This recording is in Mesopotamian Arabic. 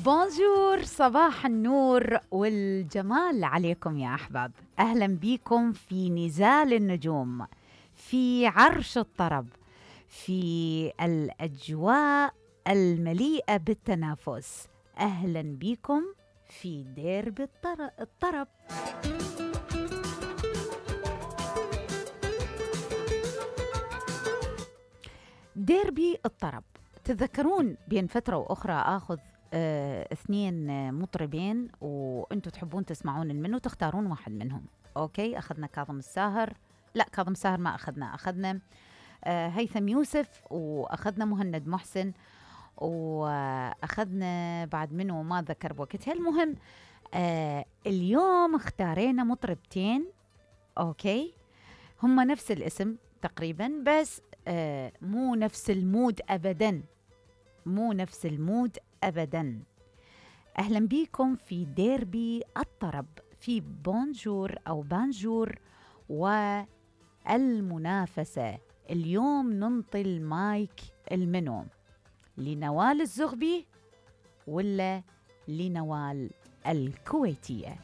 بونجور، صباح النور والجمال عليكم يا أحباب. أهلا بكم في نزال النجوم، في عرش الطرب، في الأجواء المليئة بالتنافس. أهلا بكم في ديربي الطرب. ديربي الطرب، تتذكرون بين فترة وأخرى آخذ اثنين مطربين وانتوا تحبون تسمعون منه، تختارون واحد منهم. اوكي، اخذنا كاظم الساهر، لا كاظم الساهر ما اخذنا هيثم يوسف، واخذنا مهند محسن، واخذنا بعد منه ما ذكر بوقتها. المهم اليوم اختارينا مطربتين، اوكي، هم نفس الاسم تقريبا، بس مو نفس المود ابدا، مو نفس المود أبداً. أهلاً بكم في ديربي الطرب، في بونجور أو بانجور والمنافسة. اليوم ننطي المايك المنو، لنوال الزغبي ولا لنوال الكويتية؟